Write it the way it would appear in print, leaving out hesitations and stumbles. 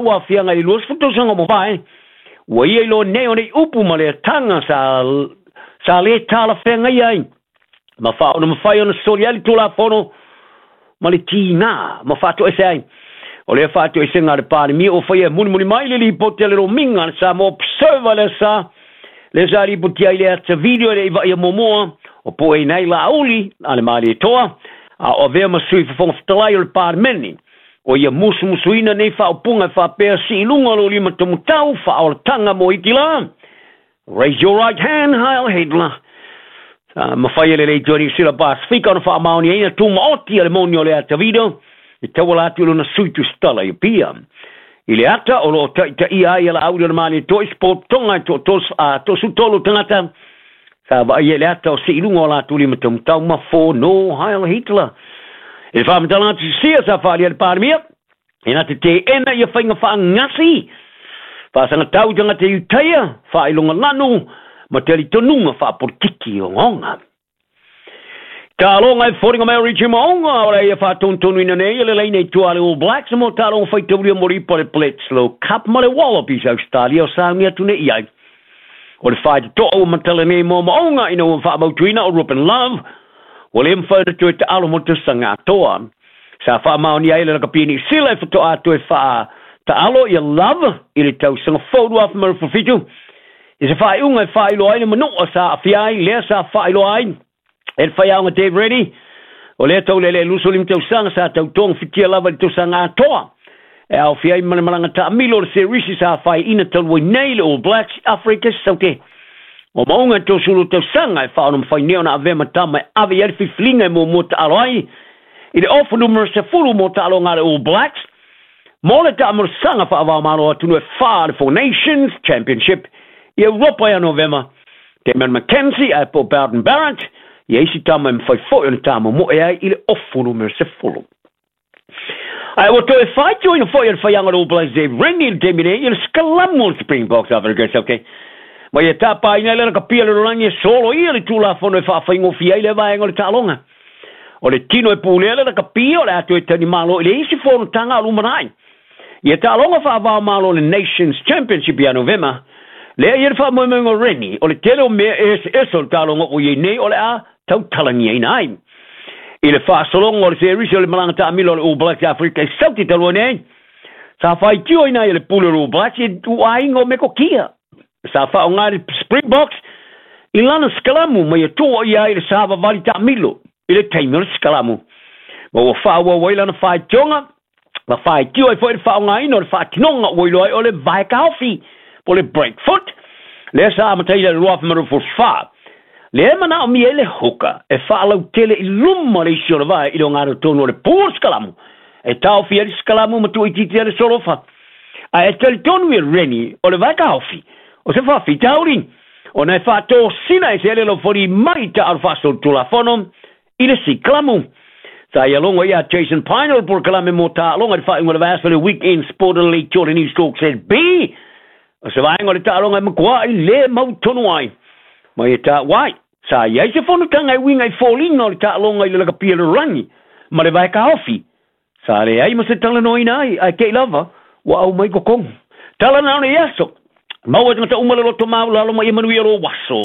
Ua aafiaga i le 20 tausaga ua mavae, ua ia iloa nei o nei upu ma le ataga sa lē talafeagaia ai ma faaona mafai ona soli ai le Tulafono ma le tigā ma faatoese ai. O lea faatoesega a le Palemia ua faia e mulimuli mai le lipoti a le Lomiga a le Samoa Observer lea sa lipotia ai le ata video e le i vaaia muamua o pueina ai Laauli a le Malietoa a o avea ma Sui Fofoga Fetalai o le Palemene. O ia musumusuina nei faaupuga e faapea, Sii i luga lou lima tomutau, faaolataga mo Hitila. Raise your right hand, Heil Hitler. Sa mafai e le Leitio Niu Sila Pasefika ona faamaoniaina tumaoti a le moni o le ata video e tauala atu i lona sui tusitala i Apia. I le ata o lo o taitaia ai a Laauli o le Malietoa i se potopotoga e toa-13 tagata sa vaaia i le ata o sii i luga o latou lima taumatau ma fono Heil Hitler. I le faamatalaga tusisia sa faaalia e le Palemia, e na te teena ia faiga faagasi, faasagatau i tagata Iutaia, faailoga lanu, ma talitonuga faapolitiki ogaoga. Taaloga e foliga mai o Richie Maunga o le ia faatonutonuina nei e le laina i tua a le All Blacks mo taaloga faitaulia mo le ipu a le Bledisloe Cup ma le Wallabies Australia o sauni atu nei i ai. O le faitotoa ua matala nei mo Maunga ina ua faamautuina o Ruben Love ua le mafai ona toe taalo mo le tausaga atoa. Sa faamaonia ai le lakapi Niu Sila e faatoa toe faataalo ia Love i le tausaga fou 2017 i se faaiuga e faailoa ai le manua sa aafia ai lea sa faailoa ai e le faiaoga Dave Rennie o lea taulealea 25 tausaga sa tautogafitia lava i le tausaga atoa e aofia ai ma le malaga taamilo o le serisi sa faiina talu ai nei le All Blacks i Afrika i Saute. O Maunga e 32 tausaga e faaona mafai nei ona avea ma tama e ave i ai le filifiliga e muamua taalo ai i le ofu numera 10 mo taaloga a le All Blacks mo le taamolosaga faavaomalo atunuu e fa le Four Nations Championship i Europa ia Novema. Damian McKenzie ae po Beauden Barrett ia isi tama e mafai foi ona tamomoe ai i le ofu numera 10. Ae ua toe faitioina foi e le faiaoga o le All Blacks Dave Rennie i le taimi nei i le sikalamu o le Springboks Afrika Saute. Ma ia tapaina ai le lakapia le lalolagi e solo ia le Tulafono e faafaigofie ai lea vaega o le taaloga. O le tino e pulea le lakapia o le a toe talimalo i le isi fonotaga o lumanai. Ia taaloga faavaomalo le Nations Championship ia Novema, lea ia le faamoemoega o Rennie o le tele o mea e eseese o le taaloga ua i ai nei o le a tautalagiaina ai. I le faasologa o le serisi o le malaga taamilo a le All Blacks i Afrika i Saute talu ai nei, sa faitioina ai e le pule o le All Blacks i ituaiga o metokia sa faaaoga e le Springboks i lana sikalamu ma ia tuuaia ai le savavali taamilo i le taimi o le sikalamu. Ma ua faaauau ai lana faitioga ma faitio ai foi le faaaogaina o le faatinoga ua iloa ai o le vae taofi po o le break foot lea sa amataina i le 2024. Lea e manaomia ai le hooker e faalautele i luma le isi o le vae i le ogatotonu o le pu o le sikalamu e taofi ai le sikalamu ma tuuitiitia le solofa. Ae e talitonu ia Rennie o le vae taofi o se faafitauli ona e faatosina e se ele laufali mai taalo faasolitulafono i le sikalamu. Sa ia logo ia Jason Pine o le polokalame mo taaloga i le faaiuga o le vaiaso le Weekend Sport o le Leitio le News Talk ZB. O se vaega o le taaloga e matuai le mautonu ai. Ma ia taua ai, sa i ai se fonotaga e uiga i foliga o le taaloga i le lakapia lalolagi ma le vae taofi. Sa leai ma se talanoaina ai, ae te i lava ua aumai i totonu. Tala na o nei aso. Maua e tagata uma le loto maualalo ma ia manuia lou aso.